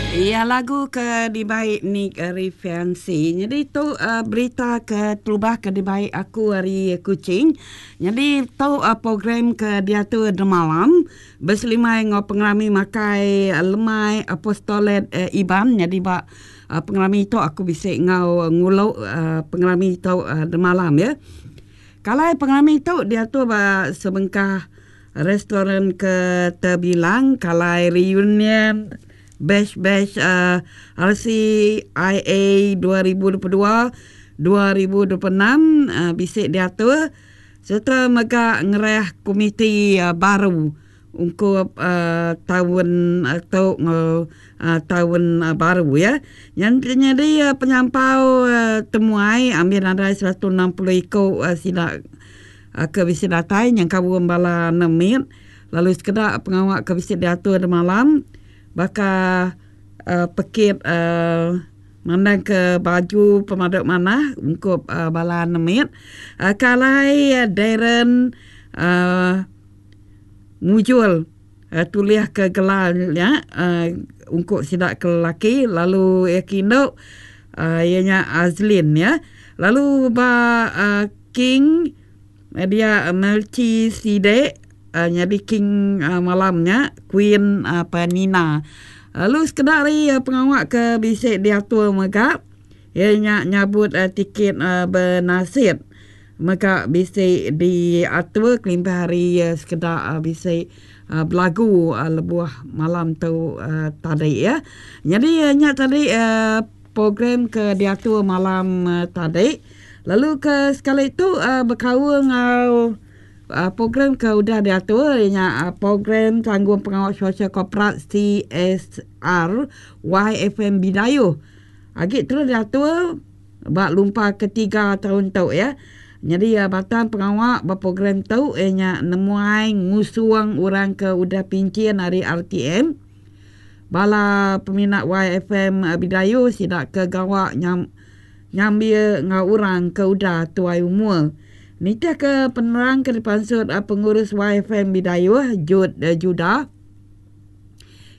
Iya lagu ke dibai Nick Rifiansi. Nyadi tu uh, berita ke terubah ke dibai aku ari Kuching. Nyadi tu uh, program ke diatur demalam beselimai enggau pengerami makai lemai Apostolat uh, Iban. Nyadi ba uh, pengerami tu aku bisi enggau ngulu uh, pengerami tu uh, demalam ya. Kalai pengerami tu diatur ba sebengkah Restoran ke tebilang kalai reunion batch-batch RCIA 2022, 2026 bisi diatur sereta mega ngerah komiti baru ungkup taun tu enggau taun baru iya. Nyadi penyampau temuai ambih nadai 160 iku sida. Ke bisi datai nyengkaum bala anak mit lalu sekeda pengawa ke bisi diatur demalam baka pekit mandangka baju pemadu manah ungkup bala anak mit ke alai Darren mujur tulihka gelar nya ungkup sida ke lelaki lalu iya ke indu iya nya Azlin ya. Lalu ba King dia Melchi Sidek nyadi king malam nya Queen Penina. Lalu sekeda ari pengawa ke bisi diatur mega iya nya nyabut tiket benasit mega bisi diatur kelimpah ari sekeda bisi belagu lebuh malam tu tadi. Nyadi nya tadi program ke diatur malam tadi lalu ke sekali tu bekaul enggau program ke udah diatur iya nya program tanggung pengawa sosial korporat CSR YFM Bidayuh agi terus diatur ba lumpa ketiga taun tu iya. Nyadi batang pengawa ba program tu iya nya nemuai ngusung orang ke udah pinchin ari RTM. Bala peminat YFM Bidayuh sida ke gawa nyambil enggau orang ke udah tuai umur. Nitihka penerang ke dipansut pengurus YFM Bidayuh, Jude Juda,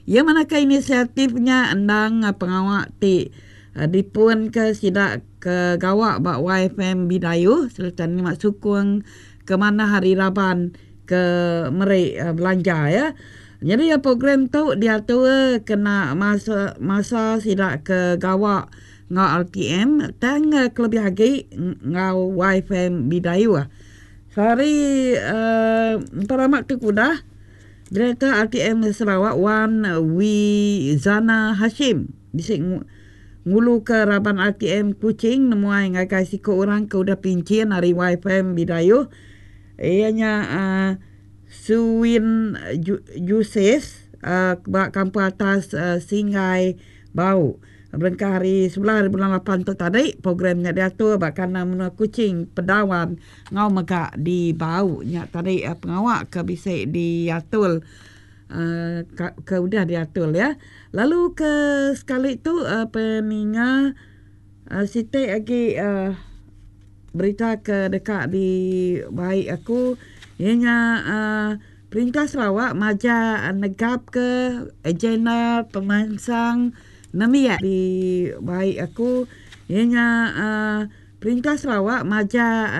iya madahka inisiatif nya endang pengawa ti dipunka sida ke gawa ba YFM Bidayuh sereta nerima sukung ke manah ari raban ke meri belanja iya. Nyadi program tu diatur kena masa masa sida ke gawa enggau RTM tang kelebih agi enggau YFM Bidayuh. Sehari uhh empai lama tu ke udah Direktor RTM Sarawak Wan Wizana Hashim bisi nguluka raban RTM Kuching nemuai ngagai siku orang ke udah pinchin ari YFM Bidayuh iya nya uhh Suwin Juses ba kampung atas Singai Bau. Berengkah ari sebelah ari bulan lapan tu tadi, program nya diatur ba kandang menua Kuching, Pedawan enggau mega di Bau. Nya tadi pengawa ke bisi diatur ke udah diatur iya. Lalu ke sekali tu peninga siti agi Berita ke deka dibai aku iya nya Perintah Sarawak majak negapka agenda pemansang nembiak. Dibai aku iya nya Perintah Sarawak majak.